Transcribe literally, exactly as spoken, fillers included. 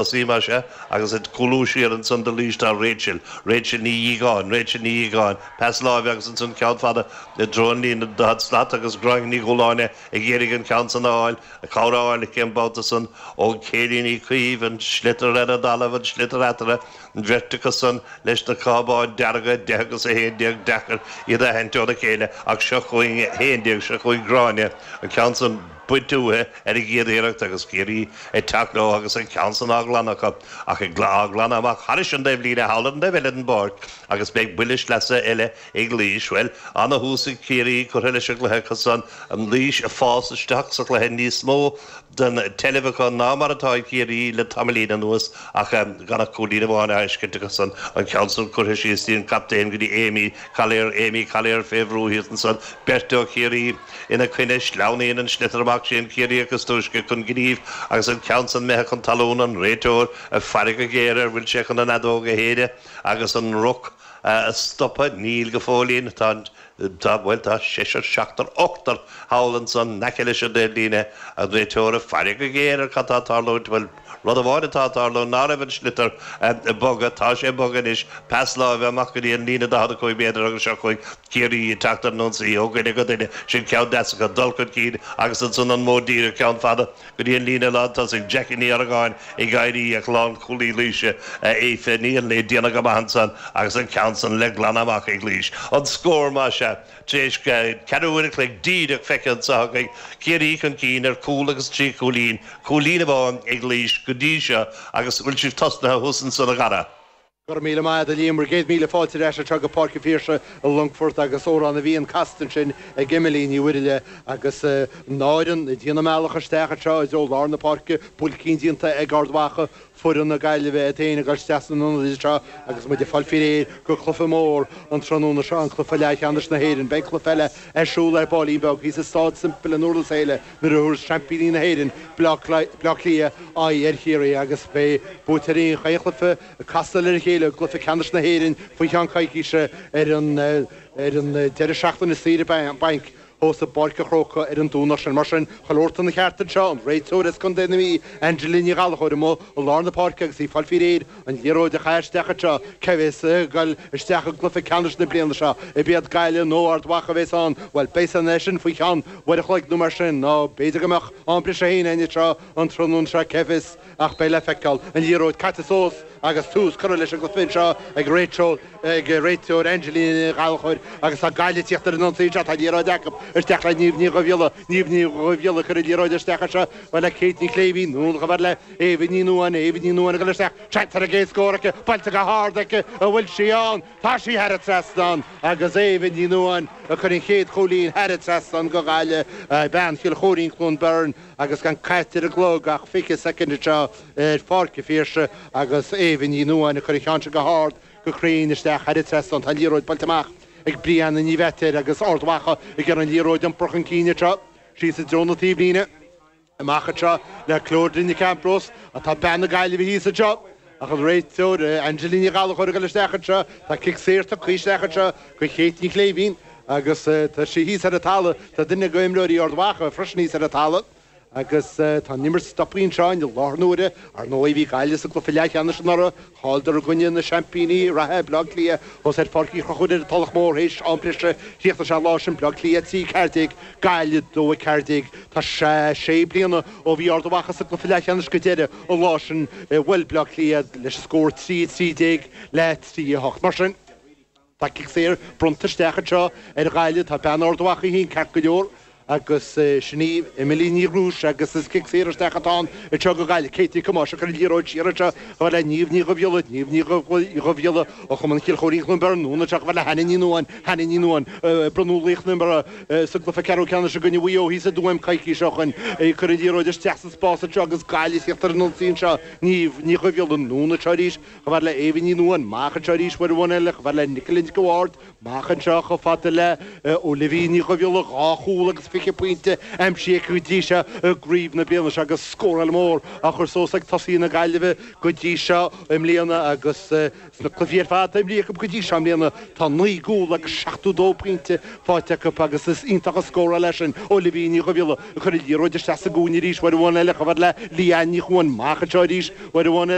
Tosaí más ea, agus ag cúlú siar ansan do Laois tá Rachel, Rachel Ní Dhíogáin, Rachel Ní Dhíogáin, pas láimhe agus ansan ceann fada i dtreo an líne daichead slat agus Gráinne Ní Dhúláine ag iarraidh an ceann san a fháil, cabhair a fháil aici an babhta san ó Céilí Ní Chaoimh, an sliotar ar an dtalamh, an sliotar eatarthu, an bheirt acu san leis na cábáin dearga, deich agus a haon déag, deacair iad a aithint óna chéile ach seo chugainn a haon déag, seo chugainn Gráinne, an ceann san. bainte uaithi ar an gcéad iarracht agus Ciarraí ag teacht leo agus an ceann san á ghlanadh acu ach ag á ghlanadh amach thairis an dtaobhlíne thall ar an dtaobh eile den bpáirc agus beidh buille sleasa eile ag Laois. Bhuel, ana-thús ag Ciarraí curtha leis an gcluiche acu san, an Laois ag fás isteach sa chluiche níos mó den tseilbh acu ná mar atá ag Ciarraí le tamaillín anuas ach gan ach cúilín amháin á fheiscint acu san, an ceann san curtha síos dtí an captaen go dtí Amy Collier, Amy Collier fé bhrú thíos ansan, beirt ó Chiarraí ina coinne, sleamhnaíonn an sliotar amach sé an Ciarraíoch is túisce chun gnímh agus an ceann san imithe chun talún, an réiteoir ag faire go géar air, bhfuil sé chun an fheadóg a shéideadh agus an ruc a stopadh? Níl go fóillín, tá an. Tá, bhuel, tá seisear, seachtar, ochtar thall ansan in aice leis an dtaobhlíne, an réiteoir ag faire go géar ar cad tá ag tarlúint. Bhuel, rud amháin atá ag tarlúint ná raibh an sliotar ag bogadh. Tá sé ag bogadh anois. Pas láimhe amach go dtí an líne daichead a cúig méadar agus seo chugainn Ciarraí ag teacht ar an ionsaí ó dhuine go duine. Sin ceann deas acu, dul chun cinn agus ansan an modh díreach, ceann fada go dtí an líne lántosaigh. Jackie Ní Argáin ag éirí ach lánchúlaí Laoise, Aoife Ní Fhionlaigh, ag déanamh go maith ansan agus an ceann san le glanadh amach ag Laois. An scór, más ea, tar éis ceathrú uair a chloig díreach feicthe anseo againn, Ciarraí chun cinn ar chúl agus trí chúilín, cúilín amháin ag Laois go dtí seo agus bhfuil sibh tosnaithe thuas ansan a Dhara? Go raibh míle maith agat a Liam, bhur gcéad míle fáilte ar ais anseo go Páirc an Phiarsaigh i Longfort agus Amhrán na bhFiann casta ansin ag Emily Ní Mhuirthile agus an fhoireann ag déanamh a mbealach isteach anseo i dtreo lár na páirce, buailcín déanta ag Ard Mhacha, foireann na Gaillimhe iad féin ag dul isteach san ionad anseo agus muid ag fáil faoi réir go cluiche mór an tráthnóna seo, an cluiche leathcheannais na hÉireann. Beidh cluiche eile ar siúl ar baillín beag thíos i Staid Semple i nDurlas Éile nuair a thabharfas seaimpíní na hÉireann, Baile Átha Cliath, aghaidh ar Chiarraí agus beidh buaiteoirí an chaon chluiche ag casadh ar a chéile i gcluiche ceannais na hÉireann faoi cheann coicíse ar an ar an deireadh seachtaine saoire bainc thuas i bPáirc an Chrócaigh ar an Domhnach sin. Mar sin, chuile shórt ina cheart anseo, an réiteoir as Contae na Mí, Angela Ní Ghallchóir, amuigh i lár na páirce agus í ag fáil faoi réir an liathróid a chaitheamh isteach anseo, cé bhéas ag dul isteach i gcluiche ceannais na bliana seo, ab iad Gaillimh nó Ard Mhacha a bhéas ann, bhuel, beidh a fhios againn sin faoi cheann uair a chloig nó mar sin, nó b'fhéidir go mbeadh am briseadh féin againn anseo an tráthnóna seo, cé fios, ach beidh le feiceáil. An liathróid caite suas agus tús curtha leis an gcluiche anseo ag réiteoir ag réiteoir Angela Ní Ghallchóir agus tá Gaillimh ag tíocht ar an ionsaí anseo, tá an liathróid acu isteach le Niamh Ní Dhubhghiolla, Niamh Ní Dhubhghiolla ag cur an liathróid isteach anseo chomh fada le Kate Ní Chléibhín, anonn chomh fada le Éabha Ní Nuadháin, Éabha Ní Nuadháin ag dul isteach, seans ar an gcéad scór aici, buailte go hard aici, an bhfuil sí ann? Tá sí thar an trasnán agus Éabha Ní Nuadháin ag cur an chéad chúilín thar an trasnán go Gaillimh, bean Chill Choirín, Cluain Bheirn agus gan caite ar an gclog ach fiche soicind anseo ar Pháirc an Phiarsaigh agus Éabha Ní Nuadháin ag cur an cheann seo go hard, go cruinn isteach thar an trasnán. Tá an liathróid buailte amach ag Brianna Ní Mheachair agus Ard Mhacha ag iarraidh an liathróid a iompar chun cinn anseo síos i dtreo na taobhlíne. Amach anseo le Clodagh Nic Ambrose tá bean na Gaillimhe thíos anseo ach an réiteoir Angela Ní Ghallchóir ag dul isteach anseo. Tá cic saor tugtha isteach anseo go Kate Ní Chléibhín agus tá sí thíos ar an talamh. Tá duine de imreoirí Ard Mhacha freisin thíos ar an talamh. Agus tá an imirt stoptha anseo i láthair na huaire. Ar ndóigh, bhí Gaillimh sa gcluiche leathcheannais anuraidh, chailleadar i gcoinne na seaimpíní reatha, Baile Átha Cliath, thuas ar Pháirc Uí Chonchúir ar an Tulach Mhór théis am breise. Chríochnaigh sé an lá sin, Baile Átha Cliath trí ceathair déag, Gaillimh dó a ceathair déag. Tá sé sé bliana ó bhí Ard Mhacha sa gcluiche leathcheannais go deireadh an lá sin, bhuail Baile Átha Cliath leis an scór trí a trí déag le trí a hocht. Mar sin. Tá cic saor bronnta isteach anseo ar Ghaillimh. Tá bean Ard Mhacha í féin ceart go leor agus sin í Emily Ní Ghrúis agus is cic saor isteach atá ann anseo go Gaillimh. Kate Nic Thomáis ag cur an liathróid siar anseo chomh fada le Niamh Ní Dhubhghiolla. Niamh Ní Dhubhghiolla ó Chumann Chill Choirín Chluain Bheirn anonn anseo chomh fada le Hannah Ní Nuadháin. Hannah Ní Nuadháin a bronnadh laoch na himeartha sa gcluiche ceathrú ceannais i gcoinne Mhaigh Eo thíos i dTuaim coicís ó shoin. Ag cur an liathróid isteach sa spás anseo agus Gaillimh ag tíocht ar an ionsaí anseo. Niamh Ní Dhubhghiolla anonn anseo arís. Chomh fada le Éabha Ní Nuadháin, amach anseo arís uair amháin eile, chomh fada le Nicola Nic an Bhaird, amach anseo chomh fada le Olivia Ní Dhubhghiolla, dhá chúl agus fiche fiche pointe aimsithe go dtí seo i gcraobh na bliana seo agus scóráil mór á chur suas ag tosaithe na Gaillimhe go dtí seo i mbliana agus sna cluichí ar fad imrithe acu go dtí seo i mbliana tá naoi gcúl agus seachtó dó pointe faighte acu agus is iontach an scóráil é sin ó Libby Ní Dhubhghiolla ag cur an liathróid isteach sa gcúinne arís uair amháin eile chomh fada le Leanne Ní Chuan amach anseo arís uair amháin